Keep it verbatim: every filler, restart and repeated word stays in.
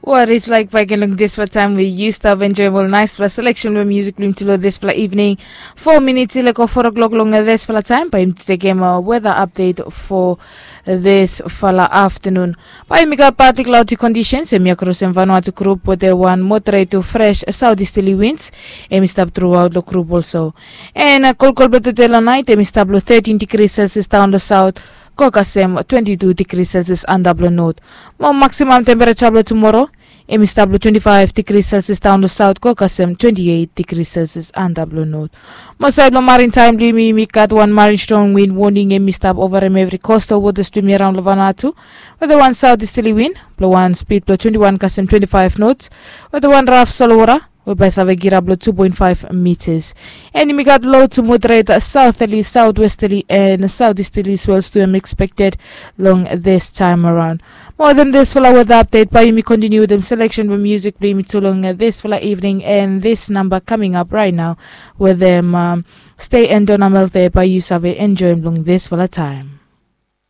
Waris laik baik en long disfala taim we yu stap enjoim ol naispela seleksen blong musik blong yumi tu long disfala evening. Fo minits i leko fo o'klok long disfala taim bai yumi tekem weda apdet fo disfala aftanun. Bai yumi gat pati klaudi kondisens em ya krosem Vanuatu grup wetem wan moderet tu fres saut istili wins. Em i stap truaut long grup olso. En kolkol blong tude long nait em i stap long thirtin digri selsias daun long saut, go kasem twenti tu digri selsias antap long not. Mo maksimam tempereja blong tumoro em i stap long twenti faiv digri selsias daun long saut, go kasem twenti eit digri selsias antap long not. Mo sait blong marin taim blong yumi, yumi gat wan marin strong win woning em i stap ovarem evri kostal wotas blong yumi araon long Vanuatu, wetem wan saut istili win blong wan spid blong twenti wan kasem twenti faiv nots, wetem wan raf solwota we bai save girap long tu poen faiv mitas. En yumi gat lo tu moderet sauteli, sautwesteli en sautisteli swels tu em ekspekted long distaim araon. Mo wetem disfala weda apdet bai yumi kontiniu wetem seleksen blong musik blong yumi tu long disfala evening en dis namba kaming ap rait nao wetem Stay en Donamel de bai yu save enjoim long disfala taim.